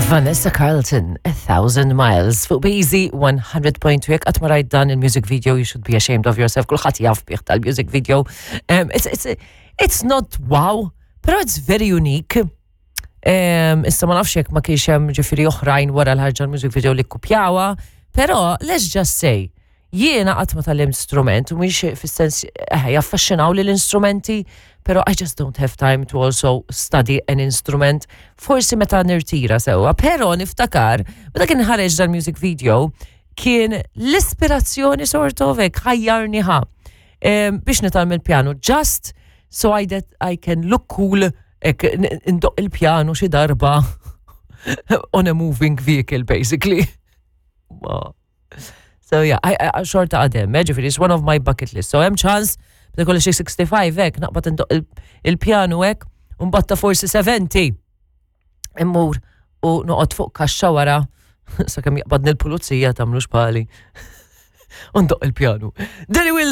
Vanessa Carlton, A Thousand Miles, fuq Beezy 100.2. Jekk qatt ma rajt dan il-music video, you should be ashamed of yourself. Kulħadd jaf bih tal-music video. It's not wow, pero it's very unique. Issa ma nafx jekk ma kienx hemm ġifieri oħrajn wara l-ħarġa l-music video li kkupjawha, pero let's just say, jiena qatt ma tgħallimt strument, u mhix fis-sens jaffaxxinaw li l-instrumenti, pero I just don't have time to also study an instrument. Forsi meta nirtira sewwa, pero niftakar, meta kien ħareġ dal-music video, kien l-ispirazzjoni sort of hekk ħajjarni ħa biex nitgħallem il-pjanu, just so that I can look cool hekk indoqq il-pjanu xi darba on a moving vehicle, basically. So yeah, I xorta għadem, ġifieri, it's one of my bucket list. So hemm ċans, bda kolli xi 65 hekk, naqbad indoqq il-pjanu hekk, u mbagħad ta' forsi 70. Immur u noqgħod fuq kaxxa wara, sakemm jaqbadni l-pulizija, tagħmlux bħali. U ndoqq il-pjanu. Danny Will